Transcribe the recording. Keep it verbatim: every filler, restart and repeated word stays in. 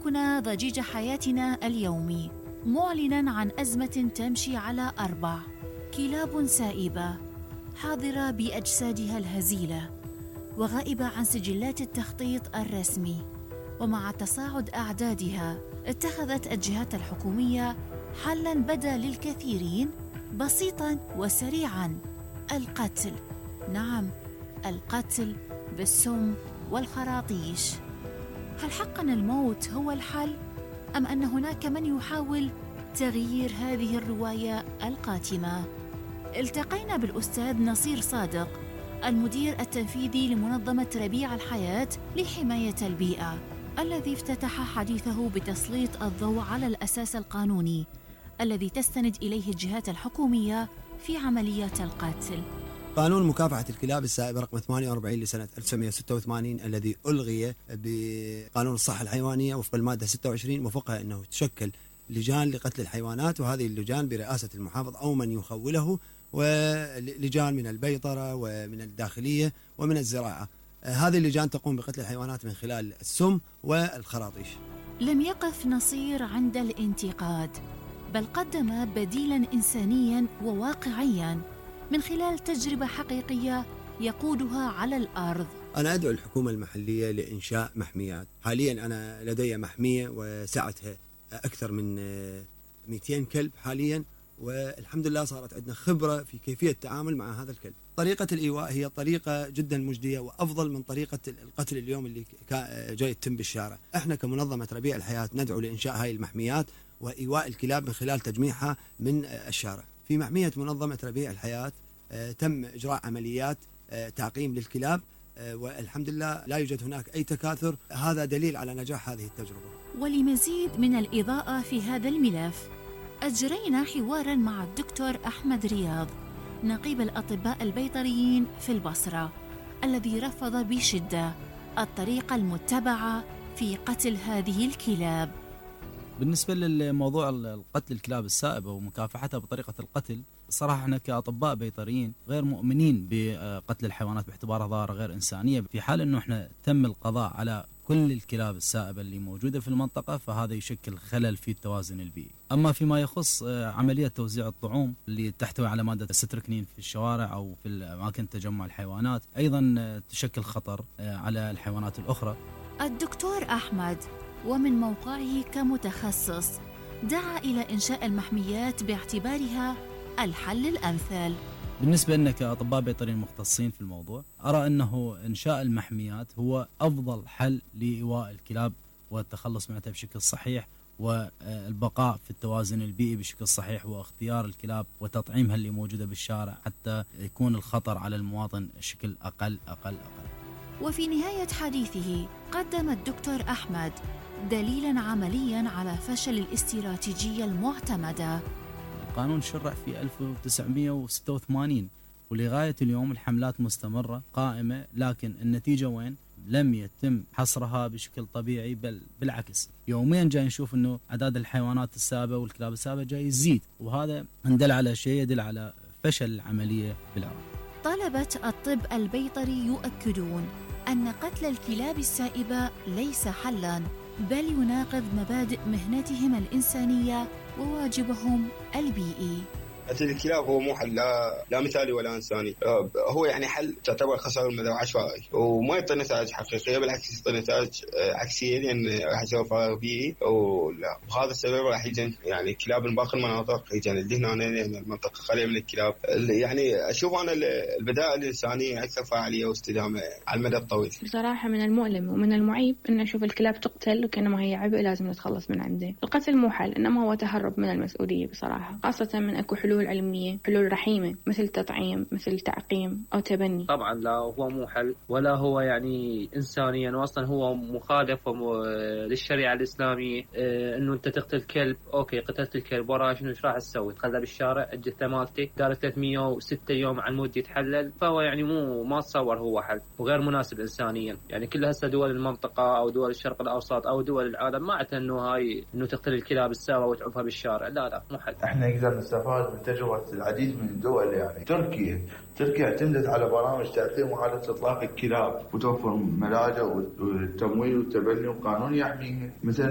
يحركنا ضجيج حياتنا اليومي، معلناً عن أزمة تمشي على أربع: كلاب سائبة حاضرة بأجسادها الهزيلة وغائبة عن سجلات التخطيط الرسمي. ومع تصاعد أعدادها اتخذت الجهات الحكومية حلاً بدا للكثيرين بسيطاً وسريعاً: القتل. نعم، القتل بالسم والخراطيش. هل حقاً الموت هو الحل؟ أم أن هناك من يحاول تغيير هذه الرواية القاتمة؟ التقينا بالأستاذ نصير صادق، المدير التنفيذي لمنظمة ربيع الحياة لحماية البيئة، الذي افتتح حديثه بتسليط الضوء على الأساس القانوني الذي تستند إليه الجهات الحكومية في عمليات القتل. قانون مكافحة الكلاب السائبة رقم ثمانية وأربعين لسنة ألف وتسعمائة وستة وثمانين الذي ألغي بقانون الصحة الحيوانية وفق المادة ستة وعشرين، وفقها أنه تشكل لجان لقتل الحيوانات، وهذه اللجان برئاسة المحافظ أو من يخوله، ولجان من البيطرة ومن الداخلية ومن الزراعة. هذه اللجان تقوم بقتل الحيوانات من خلال السم والخراطيش. لم يقف نصير عند الانتقاد، بل قدم بديلاً إنسانياً وواقعياً من خلال تجربة حقيقية يقودها على الأرض. أنا أدعو الحكومة المحلية لإنشاء محميات. حالياً أنا لدي محمية وسعتها أكثر من مئتين كلب حالياً، والحمد لله صارت عندنا خبرة في كيفية التعامل مع هذا الكلب. طريقة الإيواء هي طريقة جدا مجدية وأفضل من طريقة القتل اليوم اللي جاي يتم بالشارع. احنا كمنظمة ربيع الحياة ندعو لإنشاء هاي المحميات وإيواء الكلاب من خلال تجميعها من الشارع. في محمية منظمة ربيع الحياة تم إجراء عمليات تعقيم للكلاب، والحمد لله لا يوجد هناك أي تكاثر. هذا دليل على نجاح هذه التجربة. ولمزيد من الإضاءة في هذا الملف أجرينا حواراً مع الدكتور أحمد رياض، نقيب الأطباء البيطريين في البصرة، الذي رفض بشدة الطريقة المتبعة في قتل هذه الكلاب. بالنسبة للموضوع القتل الكلاب السائبة ومكافحتها بطريقة القتل، صراحة احنا كأطباء بيطريين غير مؤمنين بقتل الحيوانات باعتبارها ظاهرة غير إنسانية. في حال انه احنا تم القضاء على كل الكلاب السائبة اللي موجودة في المنطقة، فهذا يشكل خلل في التوازن البيئي. أما فيما يخص عملية توزيع الطعوم اللي تحتوي على مادة الستركنين في الشوارع أو في أماكن تجمع الحيوانات، أيضا تشكل خطر على الحيوانات الأخرى. الدكتور أحمد ومن موقعه كمتخصص دعا إلى إنشاء المحميات باعتبارها الحل الأمثل. بالنسبة لنا كأطباء بيطريين مختصين في الموضوع، أرى أنه إنشاء المحميات هو أفضل حل لإيواء الكلاب والتخلص منها بشكل صحيح، والبقاء في التوازن البيئي بشكل صحيح، واختيار الكلاب وتطعيمها اللي موجودة بالشارع حتى يكون الخطر على المواطن بشكل أقل أقل أقل. وفي نهاية حديثه قدم الدكتور أحمد دليلاً عملياً على فشل الاستراتيجية المعتمدة. القانون شرع في ألف وتسعمائة وستة وثمانين، ولغاية اليوم الحملات مستمرة قائمة، لكن النتيجة وين؟ لم يتم حصرها بشكل طبيعي، بل بالعكس يوميا جاي نشوف انه اعداد الحيوانات السائبة والكلاب السائبة جاي يزيد، وهذا يدل على شيء، يدل على فشل العملية بالعراق. طلبة الطب البيطري يؤكدون أن قتل الكلاب السائبة ليس حلاً، بل يناقض مبادئ مهنتهم الإنسانية وواجبهم البيئي. قتل الكلاب هو مو حل لا, لا مثالي ولا إنساني، هو يعني حل تعتبر خسارة المدى عشوائي وما يعطي نتائج حقيقية، بالعكس يعطي نتائج عكسية، لأن يعني راح يسوي فراغ بيئي، وهذا السبب راح يجن يعني الكلاب من باقي المناطق يجن اللي هنا يعني المنطقة خالية من الكلاب. يعني أشوف أنا البدائل الإنسانية أكثر فعالية واستدامة على المدى الطويل. بصراحة من المؤلم ومن المعيب أن نشوف الكلاب تقتل وكأنما هي عبء لازم نتخلص من عنده. القتل مو حل، إنما هو تهرب من المسؤولية بصراحة، خاصة من أكو حلول علمية، حلول رحيمة مثل تطعيم، مثل تعقيم أو تبني. طبعا لا هو مو حل ولا هو يعني إنسانيا، وأصلا هو مخالف للشريعة الإسلامية. اه إنه أنت تقتل كلب، أوكي قتلت الكلب، وراه شنو إيش راح تسوي؟ تخلى بالشارع الجثة مالته دار ثلاثمئة وستة يوم على المود يتحلل، فهو يعني مو ما تصور هو حل وغير مناسب إنسانيا. يعني كل هسه دول المنطقة أو دول الشرق الأوسط أو دول العالم ما عتها إنه هاي إنه تقتل الكلاب السوا وتعبها بالشارع، لا لا مو حل. إحنا نقدر نستفاد من تجربة العديد من الدول. يعني تركيا تركيا اعتمدت على برامج تعقيم وحالة إطلاق الكلاب وتوفر ملاجئ والتمويل والتبني وقانون يحميها. مثلا